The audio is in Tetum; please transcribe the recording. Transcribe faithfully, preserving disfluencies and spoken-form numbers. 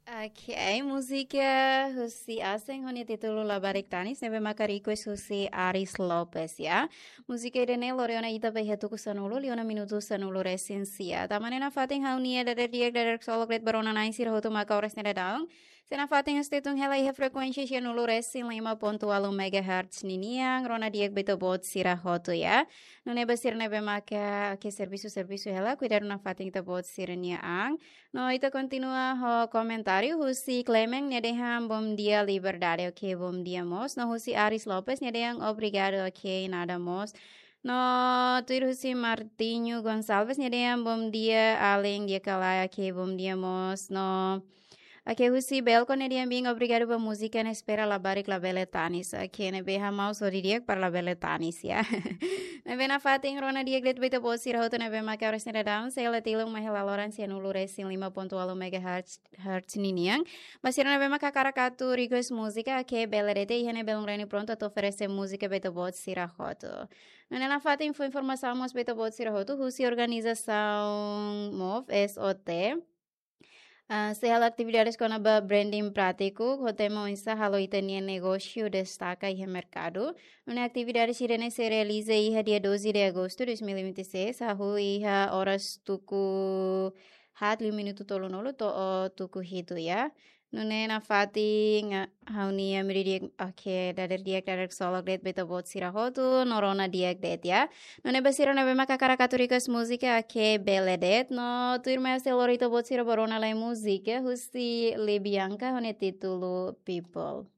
Ok, múzika husi Aseng ho nia títulu Labarik Tanis, ne'ebé maka request husi Aris Lopes, ya. Múzika ida-ne'e lori ona ita ba iha tuku sanulu, liu ona minutu sanulu resin sia. Tanba ne'e nafatin ha'u-nia dadeer di'ak, dadeer ksolok de'it ba rona-na'in sira hotu mak oras ne'e daudaun sei nafatin husi Tetun hela iha frekuénsia sianulu resin lima pontu ualu megahertz ninian, rona di'ak ba ita-boot sira hotu, ya. Nune'e ba sira ne'ebé maka, oke, servisu, servisu hela, kuidadu nafatin ita-boot sira-nia an. No ita kontinua ho komentáriu husi Clement, nia dehan bom dia Liberdade, oke, bom dia mós. No husi Aris Lopes, nia dehan obrigado, oke, nada mós. No tuir husi Martinho Gonçalves, nia dehan bom dia alin di'ak ka lae, oke, bom dia mós. No, oke, husi Belko, nia dehan bin obrigado ba múzika ne'e, espera labarik labele tanis. Oke, ne'ebé hamau sodi di'ak para labele tanis, ya. Ne'ebé nafatin rona di'ak de'it ba ita-boot sira hotu ne'ebé maka oras ne'e daudaun sei la tilun mai hela loran sianulu resin lima pontu ualu megahertz, hertz ninian. Ba sira ne'ebé maka hakarak atu request múzika, oke, bele de'it, iha ne'e belun reni prontu atu oferese múzika ba ita-boot sira hotu. Nune'e nafatin fó informasaun mós ba ita-boot sira hotu husi organizasaun MOV, S O T. Ah, sei halo atividades kona-ba branding prátiku, ho tema oinsá halo ita-nia negósiu destaka iha merkadu. Nune'e atividade sira-ne'e sei realiza iha dia doze de agosto dois mil e vinte e seis, hahú iha oras tuku haat liu minutu tolunulu to'o tuku hitu, ya. Nune'e nafatin ha'u-nia imi di'ak, oke, dadeer di'ak, dadeer ksolok de'it ba ita-boot sira hotu, no rona di'ak de'it, ya. Nune'e ba sira ne'ebé maka hakarak atu request múzika, oke, bele de'it, no tuirmai ha'u sei lori ita-boot sira ba rona lai múzika husi Libianka ho nia títulu People.